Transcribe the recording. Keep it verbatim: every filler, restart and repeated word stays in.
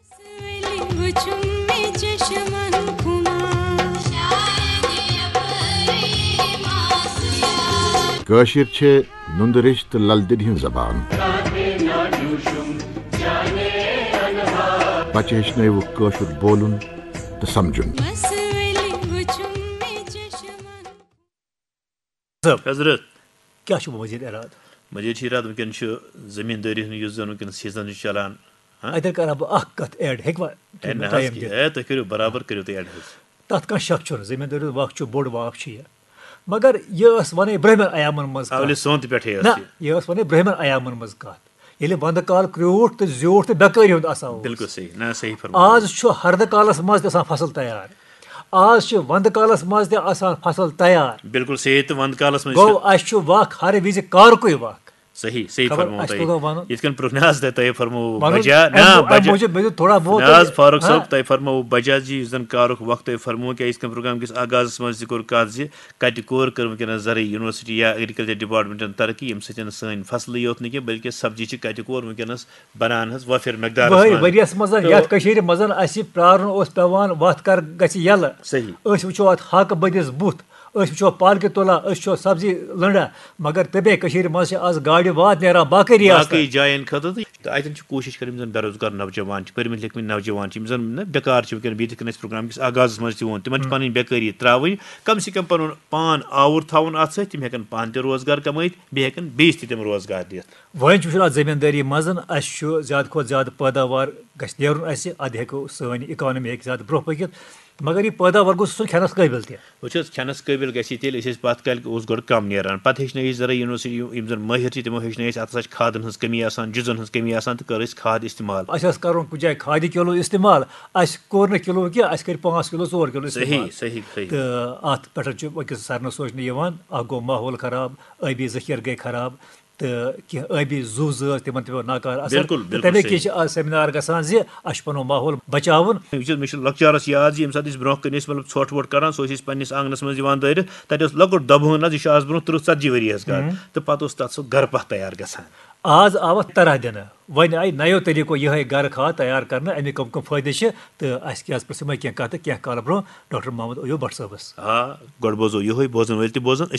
وچھُم مےٚ چشمن کُن۔ کٲشِر چھِ نُندٕ ریٚش تہٕ لل دٮ۪دِ ہٕنٛز زبان۔ بچہِ ہیٚچھنٲوِکھ کٲشُر بولُن تہٕ سمجُن۔ بس ؤلِو وُچھُم مےٚ چشمن۔ حضرت، کیٛاہ چھُ وۄنۍ مزید ارادٕ؟ مزید چھُ ارادٕ، وٕنکیٚن چھُ زٔمیٖندٲری ہُنٛد یُس زَن وٕنکیٚن سیٖزن چھُ چلان۔ ہاں؟ اَتٮ۪ن کرٕ ہا بہٕ اکھ کتھ ایڈ، ہیٚکوا تُہۍ ہے، مےٚ نہ حظ، ٹایم دِتھ؟ ہے، تُہۍ کٔرِو برابر، کٔرِو تُہۍ ایڈ حظ۔ تتھ کانٛہہ شک چھُنہٕ، زٔمیٖندٲری ہُنٛد وقت چھُ بوٚڑ وقت چھُ یہِ۔ مگر یہِ ٲس ونے برٛہمن ایامن منٛز کتھ۔ اولِ سونتہٕ پٮ۪ٹھے ٲس نہ، یہِ۔ یہِ ٲس ونے برٛہمن ایامن منٛز کتھ۔ ییٚلہِ ونٛدٕ کال کرٛیوٗٹھ تہٕ زیوٗٹھ تہٕ بیکٲری ہُنٛد آسان اوس۔ بالکل صحیح، نہ، صحیح فرموو۔ آز چھُ ہردٕ کالس منٛز تہِ آسان فصل تیار۔ آز چھِ ونٛدٕ کالس منٛز تہِ آسان فصل تیار۔ بالکل صحیح، تہٕ ونٛدٕ کالس منٛز گوٚو، اَسہِ چھُ وق ہر وِزِ کارکُے وق۔ صحیح، صحیح خبر فرموو اَسہِ تۄہہِ۔ کوٗتاہ وَنُن؟ یِتھ کٔنۍ پرٛوگناز تۄہہِ، تۄہہِ فرموو وَنُن، بجا، اَمہِ نہ، مو-، اَمہِ بجا۔ موٗجوٗب مےٚ دیُت تھوڑا بہت نہ حظ، تۄہہِ، فاروق ہاں۔ صٲب، تۄہہِ فرموو بجا زِ یُس زَن کارُک وقت تۄہہِ فرموو، کیٛاہ یِتھ کٔنۍ پرٛوگرام کِس آغازَس منٛز تہِ کوٚر کَتھ زِ کَتہِ کوٚر کٔر وٕنکیٚنَس زرعی یونیورسٹی یا ایگریکلچر ڈپارٹمنٹَن ترقی، ییٚمہِ سۭتۍ سٲنۍ فصلٕے یوت نہٕ کینٛہہ، بلکہِ سبزی چھِ کَتہِ کور وٕنکیٚنَس بنان حظ وٲفِر مقدارَس وٕہٕرۍ منٛز۔ ؤریَس منٛز تہٕ یَتھ کٔشیٖرِ منٛز اَسہِ پرٛارُن اوس پٮ۪وان وَتھ کَر گژھِ یَلہٕ۔ صحیح۔ أسۍ وٕچھو اَتھ ہاکہٕ بٔدِس بُتھ، أسۍ وٕچھو پالکہِ تُلان، أسۍ وٕچھو سبزی لٔنڈان، مگر تَمے کٔشیٖرِ منٛز چھِ آز گاڑِ واد نیران باقٕے ریاستَن۔ باقٕے جایَن خٲطرٕ تہٕ تہٕ اَتٮ۪ن چھِ کوٗشِش کَرٕنۍ، یِم زَن بے روزگار نوجوان چھِ، پٔرمٕتۍ لیکھمٕتۍ نوجوان چھِ، یِم زَن نہ بیکار چھِ وٕنکیٚن، بیٚیہِ یِتھ کٔنۍ اَسہِ پرٛوگرام کِس آغازَس منٛز تہِ ووٚن، تِمَن چھِ پَنٕنۍ بیکٲری ترٛاوٕنۍ، کَم سے کَم پَنُن پان آوُر تھاوُن اَتھ سۭتۍ، تِم ہٮ۪کَن پانہٕ تہِ روزگار کَمٲیِتھ، بیٚیہِ ہٮ۪کَن بیٚیِس تہِ تِم روزگار دِتھ۔ وۄنۍ چھُ وٕچھُن اَتھ زٔمیٖندٲری منٛز، اَسہِ چھُ زیادٕ کھۄتہٕ زیادٕ پٲداوار گژھِ نیرُن اَسہِ، اَدٕ ہٮ۪کو سٲنۍ اِکانمی ہٮ۪کہِ زیادٕ برٛونٛہہ پٔکِتھ، مگر یہِ پٲداوار گوٚژھ آسُن کھٮ۪نَس قٲبِل تہِ۔ وٕچھ حظ، کھٮ۪نَس قٲبِل گژھِ یہِ تیٚلہِ، أسۍ ٲسۍ پَتھ کالہِ اوس گۄڈٕ کَم نیران، پَتہٕ ہیٚچھنٲے أسۍ زَرٲے یونیورسٹی، یِم زَن مٲہِر چھِ، تِمو ہیٚچھنٲے أسۍ، اَتھ ہَسا چھِ کھادَن ہٕنٛز کٔمی آسان، جُزَن ہٕنٛز کٔمی آسان، تہٕ کٔر اَسہِ کھاد اِستعمال۔ اَسہِ ٲس کَرُن کُنہِ جایہِ کھادِ کِلوٗ اِستعمال، اَسہِ کوٚر نہٕ کِلوٗ کینٛہہ، اَسہِ کٔرۍ پانٛژھ کِلوٗ، ژور کِلوٗ اِستعمال۔ صحیح، صحیح، صحیح۔ تہٕ اَتھ پٮ۪ٹھ چھُ أکِس سارنَس سونٛچنہٕ یِوان، اَکھ گوٚو ماحول خراب، ٲبی ذٔخیٖرٕ گٔے خراب، تہٕ کینٛہہ ٲبی زُو زٲژ، تِمن تہِ پیوٚو ناکارٕ اثر۔ بِلکُل، تہٕ بِلکُل تَمے صحیح۔ کِنۍ چھِ آز سیمینار گژھان زِ اَسہِ چھُ پَنُن ماحول بَچاوُن۔ یہِ چھُ، مےٚ چھُ لۄکچارَس یاد زِ ییٚمہِ ساتہٕ أسۍ برونٛہہ کَنہِ ٲسۍ، مطلب، ژھۄٹھ وۄٹھ کَڑان، سُہ ٲسۍ أسۍ پنٛنِس آنٛگنَس منٛز یِوان دٲرِتھ۔ تَتہِ اوس لۄکُٹ دَبہٕ ہٲن حظ، یہِ چھُ آز برونٛہہ تٕرٛہ ژَتجی ؤری حظ کَتھ۔ ہُم۔ تہٕ پَتہٕ اوس تَتھ سُہ گَرٕ پَتھ تیار گژھان۔ آز آو اَتھ طرح دِنہٕ۔ وۄنۍ آیہِ نَیو طٔریٖقو یِہوٚے گَرٕ کھاد تیار کَرنہٕ، اَمِکۍ کَم کَم فٲیدٕ چھِ، تہٕ اَسہِ کیٛاہ حظ پرٛژھٕ یِمَے کینٛہہ کَتھٕ کینٛہہ کالہٕ برونٛہہ ڈاکٹر محمد ایوب بٹ صٲبَس۔ آ، گۄڈٕ بوزو یِہوٚے، بوزَن وٲلۍ تہِ بوزَن، أسۍ